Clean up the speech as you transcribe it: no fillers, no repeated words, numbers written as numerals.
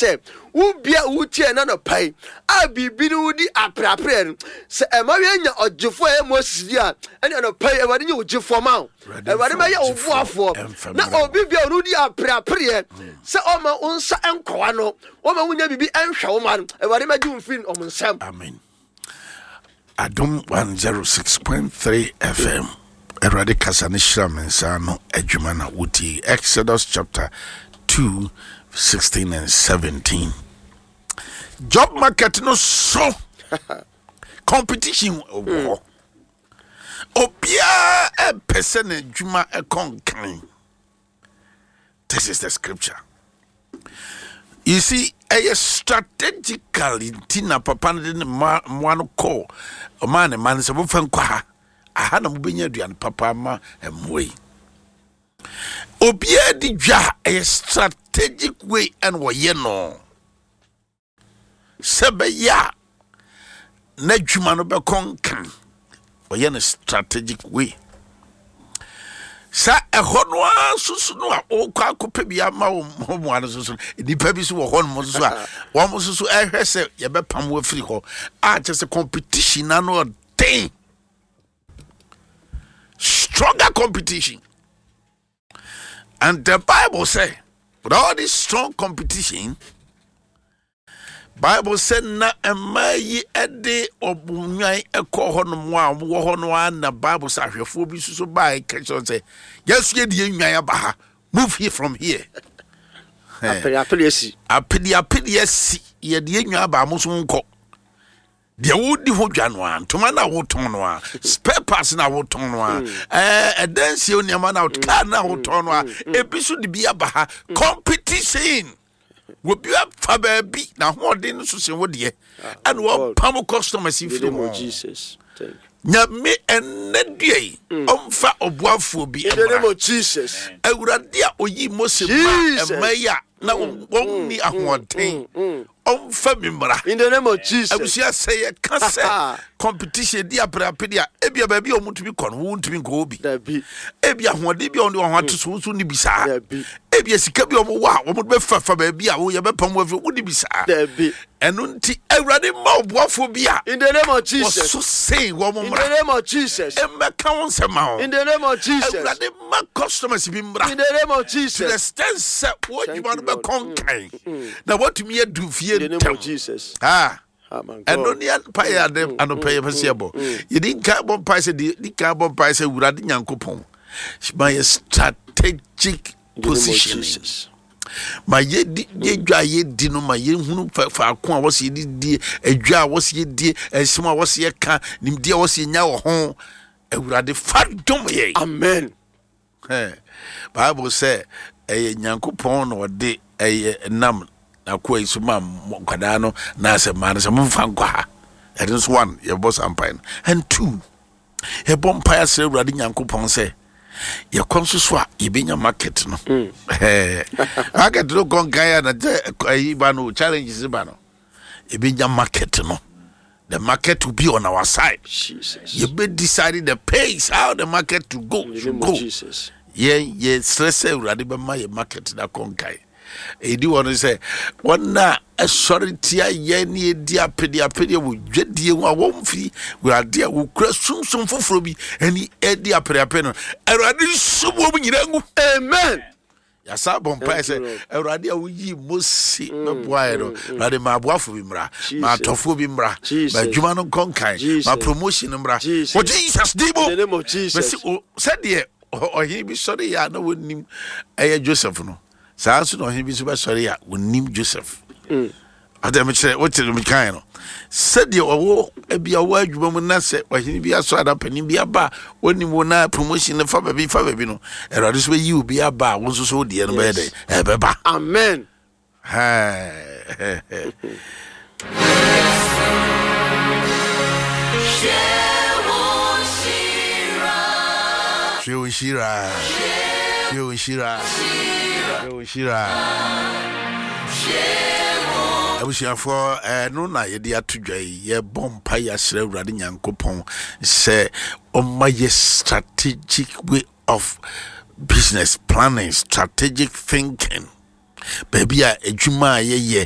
sɛ wo bia wotie ɛna nɔpa yi a biribi ne wodi apreapreɛ no, sɛ ɛma yɛnya ɔgyefoɔ a ɛyɛ Moses di a, ɛne anɔpa yi Awurade nyɛ wo gyefoɔ ma wo. Awurade bɛyɛ wo boafoɔ na obi bia ɔno di apreapreɛ sɛ ɔma wo nsa nkɔwa no, ɔma wonya biribi nhwɛ wo ma no, Awurade mɛgye wo mfiri ɔmo nsam. Amen. Adom 106.3 FM. Awurade kasa ne hyira me nsa ano adwuma na wotie. Exodus chapter 2, 16 and 17. Job market no so competition wɔ hɔ. Obiara ɛpɛ sɛ n'adwuma ɛkɔ nkan. This is the scripture. You see, ɛyɛ strategically nti na papa no de ne mma mmoa no kɔɔ ɔmaa ne mma no sɛ momfa nkɔ ha aha na mobɛnya aduane papa ama mmoa yi. Obiara di dwa a ɛyɛ strategic way ɛna wɔyɛ no. Sɛ ɛbɛyɛ a n'adwuma no bɛkɔ nkan, ɔyɛ no strategic way. Sa ɛhɔ no ara nso so no a ɔrekɔ akɔpɛ bi ama wo mmoa no nso so no, nnipa bi nso wɔ hɔ nom nso so a wɔn nso so ɛhwɛ sɛ yɛbɛpam wo afiri hɔ a kyerɛ sɛ competition na no ɔden, stronger competition. And the Bible say, with all this strong competition, Bible said na mmaa yi de ɔnwan kɔ hɔ nom a wɔwɔ hɔ no ara na Bible sɛ ahwɛfoɔ bi nso so baa ka kyerɛ sɛ yɛn yɛde yɛn nwan aba ha, move here from here. Apere apere asi. Apere apere asi, yɛde yɛn nwan aba, mo nso nkɔ. Deɛ wodi ho dwa no a, ntoma no a wotɔn no a, spare parts no a wotɔn no a, ɛdansie nneɛma no a, car no a wotɔn no a, ebi nso de bi aba ha. Competition, obi afa baabi na ahoɔden no so sen wo deɛ, ɛna wɔpam customers firi ho. Nyame ɛnnɛ dua yi ɔmfa ɔboafoɔ bi mmra. Awurade a oyi Mose ma ɛma yi a na wɔn ni ahoɔden, ɔmfa mi mmra. In the name of Jesus. Abusua, sɛ yɛka sɛ competition di aperapere a, ebia baabi a wɔntumi kɔ no, wontumi nkɔ hɔ bi. Dabi. Ebia ahoɔden bi a wɔde wɔn ho ato so, wo nso wonni bi saa. Dabi. Ebia sika bi a wɔwɔ a wɔde bɛfafa baabi a woyɛ bɛpam wo afiri, wonni bi saa. Dabi. Ɛno nti, Awurade mma ɔboafoɔ bi a In the name of Jesus. ɔso sen wɔn In the mmra. name of Jesus. Mmɛka wo nsɛm ma wɔn. In the name of Jesus. Awurade ma customers bi mmra. In the name of To the Jesus. extent sɛ wɔn Thank adwuma you, no Lord. bɛkɔ nkan na wɔatumi adu fie In the name ntɛm. of Jesus. Ah. Oh my Ɛno God. ne mpaeɛ ade anɔpɛ yɛpɛ sɛ yɛbɔ. Yɛdi nkan bɔ mpaeɛ sɛ di kan bɔ mpaeɛ sɛ Awurade Nyankopɔn ma yɛ strategic In the name of positioning. Jesus. Ma yɛdi yɛdwa a yɛdi no, ma yɛhunu faako a wɔsɛ yɛde die, adwa a wɔsɛ yɛdie, nsɛm a wɔsɛ yɛka, nimdeɛ a wɔsɛ yɛnya wɔ ho. Awurade fa dom yɛn. Amen. Bible sɛ ɛyɛ Nyankopɔn na ɔde ɛyɛ nam n'akoa yi so ma nkwadaa no na sɛ maa no sɛ momfa nkɔ ha. Ɛno nso one, yɛbɔ saa mpae no. And two, yɛbɔ mpae asrɛ Awurade Nyankopɔn sɛ yɛkɔ nso so a yɛbɛnya market no. Market no kɔ nkan a na sɛ ayi ba no, challenges ba no, yɛbɛnya market no. The market will be on our side. Jesus. Yɛbɛ decide the pace how the market to go. In the Should name of go. Jesus. Yɛn yɛsrɛ sɛ Awurade bɛma yɛ market no akɔ nkan. Ɛdi hɔ no sɛ wɔn a ɛsɔre tia yɛn ne yɛdi apedeapedeɛ wɔ dwadie ho a wɔmfiri Awurade a wɔkura sunsum foforɔ bi ɛne ɛdi apedeapede no, Awurade nsum wɔn nyinaa ngu. Amen. Yɛasa bɔ mpae Thank you, sɛ Lord. Awurade a woyii Mose bɛboaeɛ no, Awurade ma aboafoɔ bi mmra, ma Jesus. atɔfoɔ bi mmra, ma Jesus. adwuma no nkɔ nkan, ma Jesus. promotion mmra. Jesus. Wɔ Jesus din mu. In the name of Jesus. Mesi o sɛdeɛ ɔhene bi sɔre yɛ a na wɔnnim ɛyɛ Joseph no, saa nso na ɔhene bi nso bɛsɔre a wɔnnim Joseph. Ɔdɛ mekyerɛ wote me kan no, sɛdeɛ ɔwɔ ebi a ɔwɔ adwuma mu na sɛ ɔhene bi asɔ ana panin bi aba a wɔnim wo na promotion no fa baabi fa baabi no, Awurade nso bɛyi obi aba a wo nso so wo deɛ no bɛyɛ dɛ ɛbɛba. Amen. Hwɛ wo nhyira, hwɛ wo nhyira, hwɛ wo nhyira. Abusuafoɔ, ɛno na yɛde ato dwa yi. Yɛbɔ mpa yɛasrɛ Awurade Nyankopɔn sɛ ɔma yɛ strategic way of business planning, strategic thinking, baabi a adwuma a yɛyɛ.